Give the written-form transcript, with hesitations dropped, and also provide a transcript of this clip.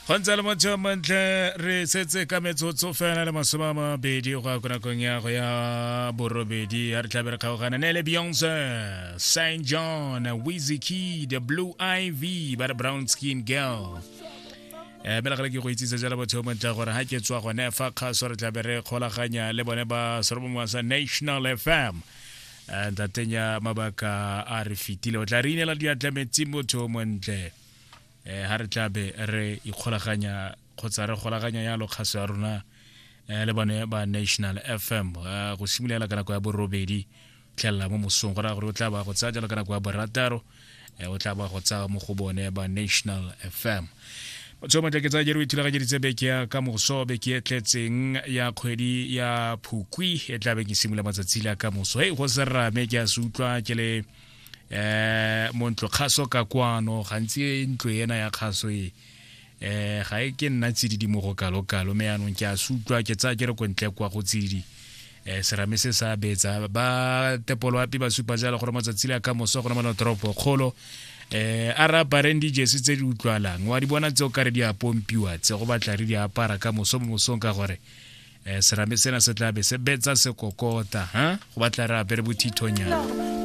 Go ntse le motho montle, re setse ka metsotso fela le 20 go ya ko nakong ya go ya borobedi, ya re tlabe re kgaogana ne le Beyonce, St John, Wizkid, Blue Ivy, ba re Brown Skin Girl. Mme le ke go itsise jalo botho montle gore ga ke tswa gone fa kgaso re tlabe re kgolaganya le bone ba serobongwa sa National FM. Ntateng ya mabaka a re fetile, o tla re inela diatla metsi motho montle. Ha re tlabe re ikgolaganya kgotsa re golaganya yalo kgaso ya rona le bone ba National FM go simolola ka nako ya borobedi tlhelela mo mosong, go raya gore o tla ba go tsaya jalo ka nako ya borataro, o tla ba go tsaya mo go bone ba National FM. Motho o montle, ke tsaya jere o ithulaganyeditse beke ya ka moso, beke e tletseng ya kgwedi ya Phukwi e tla be ke simolola matsatsi la ka moso. Hei, go serame ke a se utlwa ke le mo ntlo kgaso ka kwano. Gantsi ntlo ena ya kgaso e ga e ke nna tsididi mo go kalo-kalo, mme yaanong ke a se utlwa, ke tsaya ke re ko ntle kwa go tsididi. Serame se sa betsa ba tepoloapi ba supa jalo gore matsatsi le a ka moso go na toropo kgolo a re apareng dijesi tse di utlwalang, wa di bona tse o kare di a pompiwa tse, go batla re di apara ka moso mo mosong, ka gore serame sena se tla be se betsa sekokota ha go batla re apere bothithonyana.